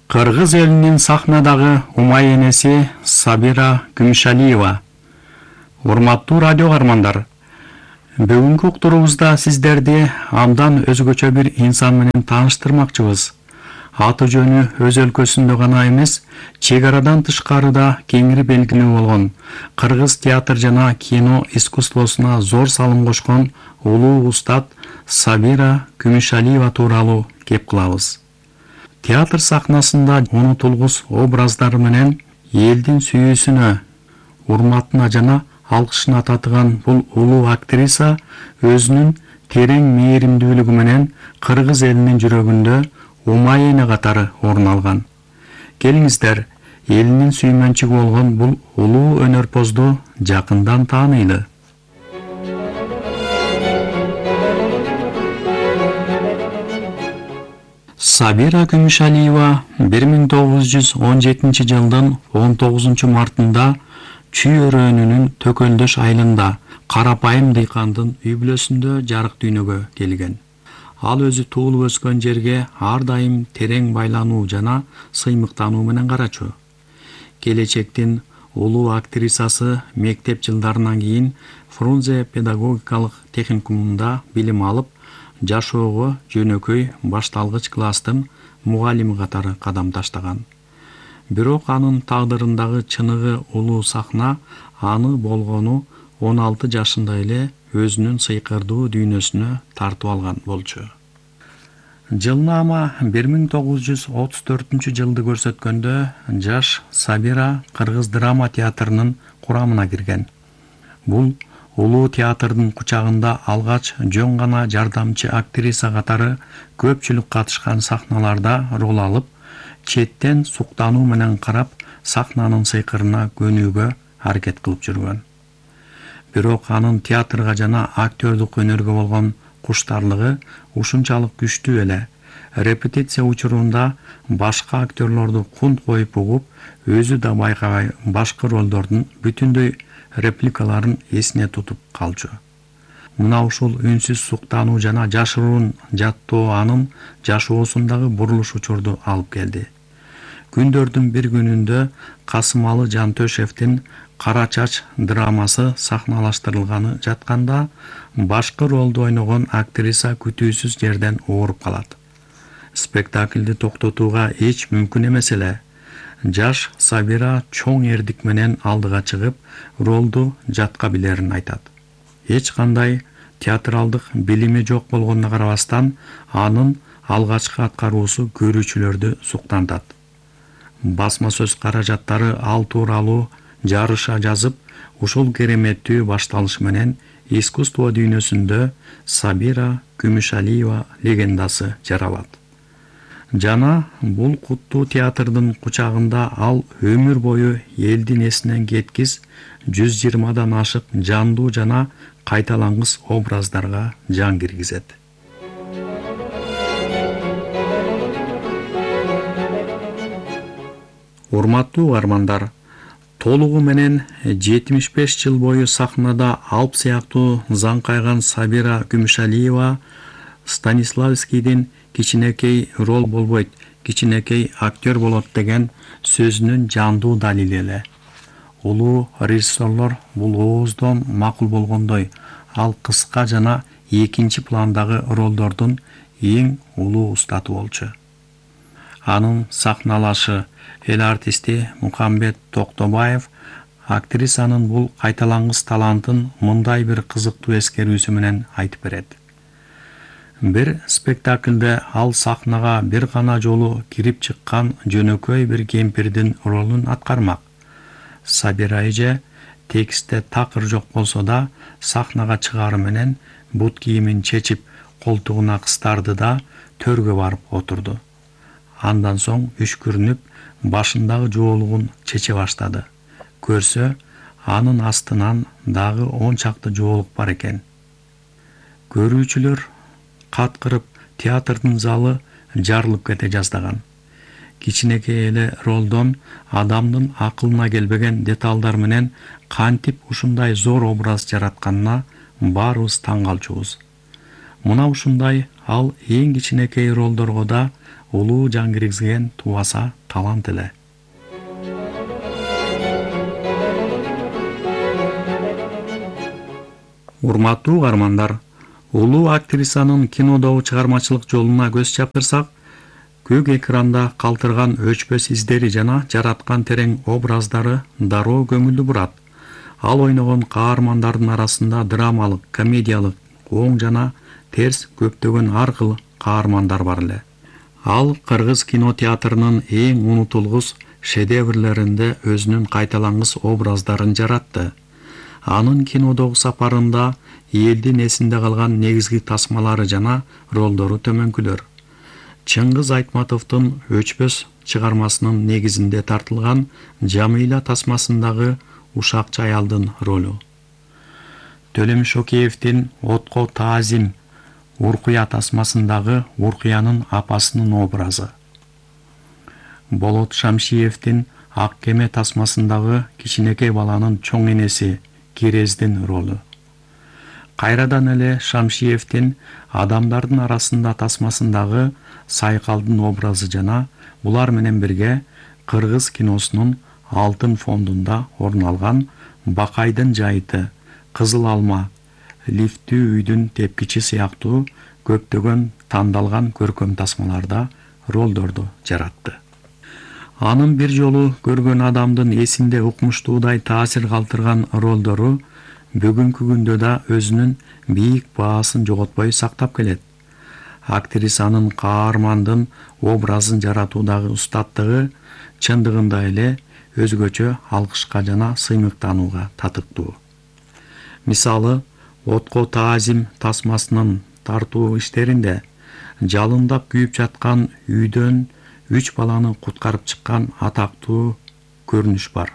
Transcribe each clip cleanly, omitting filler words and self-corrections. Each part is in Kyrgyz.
Кыргыз элинин сахнадагы умай энеси Сабира Күмүшалиева. Урматтуу радио каармандар, бүгүнкү уктуруубузда сиздерди андан өзгөчө бир инсан менен тааныштырмакчыбыз. Аты жөнү өз өлкөсүндө гана эмес, чек арадан тышкарыда кеңири белгилүү болгон, кыргыз театр жана кино искусствосуна зор салым кошкон улуу устат Сабира Күмүшалиева тууралуу кеп кылабыз. Театр сахнасында унутулгус образдары менен элдин сүйүүсүнө, урматына жана алкышына татыган бул улуу актриса өзүнүн терең мээримдүүлүгү менен кыргыз элинин жүрөгүндө умай эне катары орун алган. Келиңиздер, элинин сүймөнчүгү болгон бул улуу өнөрпозду жакындан таанайлы. Сабира Күмүшалиева 1917 жылдын 19 мартында Чүй өрөөнүнүн Төкөлдөш айылында карапайым дыйкандын үй бүлөсүндө жарык дүйнөгө келген. Ал өзү туулуп өскөн жерге ар дайым терең байлануу жана сыймыктануу менен карачу. Келечектин улуу актрисасы мектеп жылдарынан кийин Фрунзе педагогикалык техникумунда билим алып, жашоого жөнөкөй башталгыч класстын мугалими катары кадам таштаган. Бирок анын тагдырындагы чыныгы улуу сахна аны болгону 16 жашында эле өзүнүн сыйкырдуу дүйнөсүнө тартып алган болчу. Жылнама 1934 жылды көрсөткөндө жаш Сабира Кыргыз драма театрынын курамына кирген. Бул улуу театрдын кучагында алгач жөн гана жардамчы актриса катары көпчүлүк катышкан сахналарда рол алып, четтен суктануу менен карап, сахнанын сыйкырына көнүүгө аракет кылып жүргөн. Бирок анын театрга жана актёрдук өнөргө болгон куштарлыгы ушунчалык күчтүү эле. Репетиция учурунда башка актерлорду кунт коюп угуп, өзү да байкабай башкы ролдордун бүтүндөй репликаларын эсине тутуп калчу. Мына ушул үнсүз суктануу жана жашыруун жаттоо анын жашоосундагы бурулуш учурду алып келди. Күндөрдүн бир күнүндө Касымалы Жантөшевдин Кара чач драмасы сахналаштырылганы жатканда башкы ролду ойногон актриса күтүүсүз жерден ооруп калат. Спектаклди токтотууга эч мүмкүн эмес эле. Жаш Сабира чоң эрдик менен алдыга чыгып, ролду жатка билерин айтат. Эч кандай театралдык билими жок болгонуна карабастан, анын алгачкы аткаруусу көрүүчүлөрдү суктантат. Басма сөз каражаттары ал тууралуу жарыша жазып, ушул кереметтүү башталыш менен искусство дүйнөсүндө Сабира Күмүшалиева легендасы жаралат. Жана бул куттуу театрдын кучагында ал өмүр бою элдин эсинен кеткис 120дан ашык жандуу жана кайталангыс образдарга жан киргизет. Урматтуу каармандар, толугу менен 75 жыл бою сахнада алп сыяктуу заңкайган Сабира Күмүшалиева Станиславскийдин кичинекей рол болбойт, кичинекей актер болот деген сөзүнүн жандуу далили эле. Улуу режиссерлор бул ооздон макул болгондой, ал кыска жана экинчи пландагы ролдордун эң улуу устаты болчу. Анын сахналашы эл артисти Мукамбет Токтобаев актрисанын бул кайталангыс талантын мындай бир кызыктуу эскерүүсү менен айтып берет. Бир спектаклде ал сахнага бир гана жолу кирип чыккан жөнөкөй бир кемпирдин ролун аткармак. Сабира эже текстте такыр жок болсо да, сахнага чыгары менен бут кийимин чечип, колтугуна кыстарды да төргө барып отурду. Андан соң үшкүрүнүп, башындагы жоолугун чече баштады. Көрсө, анын астынан дагы 10 чакты жоолук бар экен. Көрүүчүлөр каткырып, театрдын залы жарылып кете жаздаган. Кичинекей эле ролдон адамдын акылына келбеген деталдар менен кантип ушундай зор образ жаратканына баарыбыз таң калчубуз. Мына ушундай ал эң кичинекей ролдорго да улуу жан киргизген тубаса талант эле. Урматтуу угармандар, улуу актрисанын кинодогу чыгармачылык жолуна көз чаптырсак, көк экранда калтырган өчпөс издери жана жараткан терең образдары дароо көңүлдү бурат. Ал ойногон каармандардын арасында драмалык, комедиялык, оң жана терс көптөгөн ар кыл каармандар бар эле. Ал кыргыз кинотеатрынын эң унутулгус шедеврлеринде өзүнүн кайталангыс образдарын жаратты. Анын кинодогу сапарында элдин эсинде калган негизги тасмалары жана ролдору төмөнкүлөр. Чыңгыз Айтматовдун өчпөс чыгармасынын негизинде тартылган Жамыйла тасмасындагы ушакчы аялдын ролу. Төлөмүш Океевдин Отко таазим Уркуя тасмасындагы Уркуянын апасынын образы. Болот Шамшиевдин Ак кеме тасмасындагы кичинекей баланын чоң энеси Кирездин ролу. Кайрадан эле Шамшиевдин Адамдардын арасында тасмасындагы Сайкалдын образы жана булар менен бирге кыргыз киносунун алтын фондунда орун алган Бакайдын жайыты, Кызыл алма, Лифтүү үйдүн тепкичи сыяктуу көптөгөн тандалган көркөм тасмаларда ролдорду жаратты. Анын бир жолу көргөн адамдын эсинде укмуштуудай таасир калтырган ролдору бүгүнкү күндө да өзүнүн бийик баасын жоготпой сактап келет. Актрисанын каармандын образын жаратуудагы устаттыгы чындыгында эле өзгөчө алкышка жана сыймыктанууга татыктуу. Мисалы, Отко таазим тасмасынын тартуу иштеринде жалындап күйүп жаткан үйдөн 3 баланы куткарып чыккан атактуу көрүнүш бар.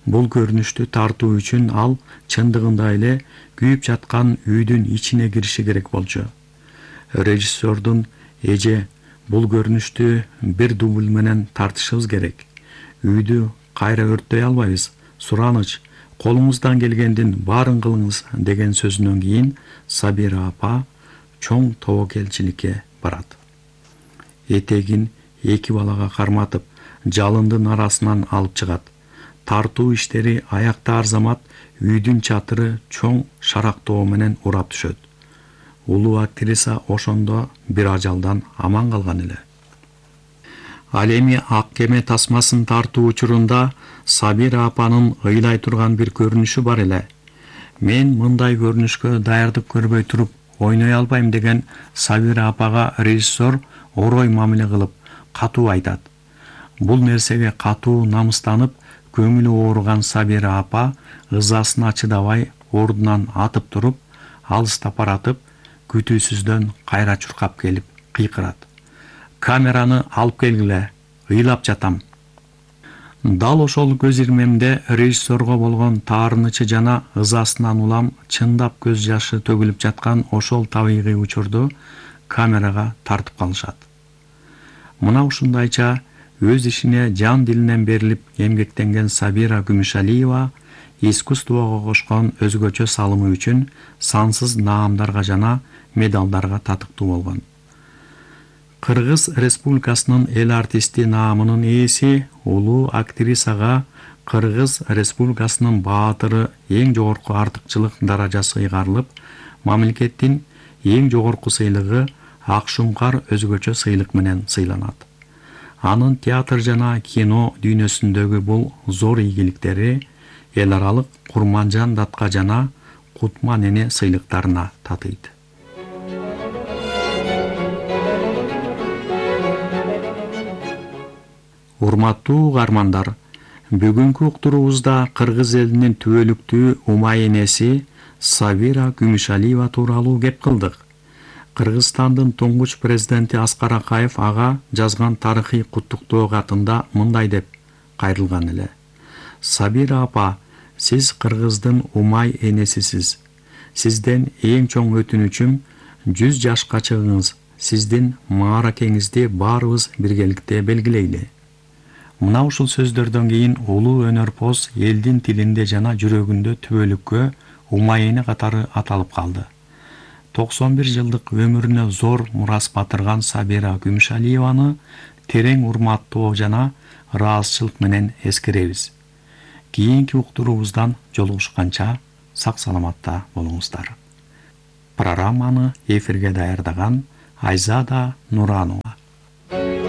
Бул көрүнүштү тартуу үчүн ал чындыгында эле күйүп жаткан үйдүн ичине кириши керек болчу. Режиссердун эже, бул көрүнүштү бир дубль менен тартышыбыз керек. Үйдү кайра өрттөй албайбыз. Сураныч, колуңуздан келгендин баарын кылыңыз деген сөзүнөн кийин Сабира апа чоң тобокелчиликке барат. Этегин 2 балага карматып, жалындын арасынан алып чыгат. Тартуу иштери аякта арзамат, үйдүн чатыры чоң шарактоо менен урап түшөт. Улуу актриса ошондо бир ажалдан аман калган эле. Ал эми Ак кеме тасмасын тартуу учурунда Сабира апанын ыйлай турган бир көрүнүшү бар эле. Мен мындай көрүнүшкө даярдык көрбөй туруп ойной албайм деген Сабира апага режиссер орой мамиле кылып катуу айтат. Бул нерсеге катуу намыстанып, көңүлү ооруган Сабира апа ызасына чыдабай ордунан атып туруп, алыстап баратып, күтүүсүздөн кайра чуркап келип кыйкырат. Камераны алып келгиле, ыйлап жатам. Дал ошол көз ирмемде режиссерго болгон таарынычы жана ызасынан улам чындап көз жашы төгүлүп жаткан ошол табигый учурду камерага тартып калышат. Мына ушундайча өз ишине жан дилинен берилип эмгектенген Сабира Күмүшалиева искусствого кошкон өзгөчө салымы үчүн сансыз наамдарга жана медалдарга татыктуу болгон. Кыргыз Республикасынын эл артисти наамынын ээси улуу актрисага Кыргыз Республикасынын баатыры эң жогорку артыкчылык даражасы ыйгарылып, мамлекеттин эң жогорку сыйлыгы Ак Шуңкар өзгөчө сыйлык менен сыйланат. Анын театр жана кино дүйнөсүндөгү бул зор ийгиликтери эл аралык Курманжан датка жана Кутман эне сыйлыктарына татыйт. Урматтуу угармандар, бүгүнкү уктуруубузда кыргыз элинин түбөлүктүү умай энеси Сабира Күмүшалиева тууралуу кеп кылдык. Кыргызстандын туңгуч президенти Аскар Акаев ага жазган тарыхый куттуктоо катында мындай деп кайрылган эле. Сабира апа, сиз кыргыздын умай энесисиз. Сизден эң чоң өтүнүчүм 100 жашка чыгыңыз. Сиздин мааракеңизди баарыбыз биргеликте белгилейли. Мына ушул сөздөрдөн кийин улуу өнөрпоз элдин тилинде жана жүрөгүндө түбөлүккө умай эне катары аталып калды. 91 жылдык өмүрүнө зор мурас батырган Сабира Күмүшалиеваны терең урматтоо жана ыраазычылык менен эскеребиз. Кийинки уктуруубуздан жолугушканча сак саламатта болуңуздар. Программаны эфирге даярдаган Айзада Нуранова.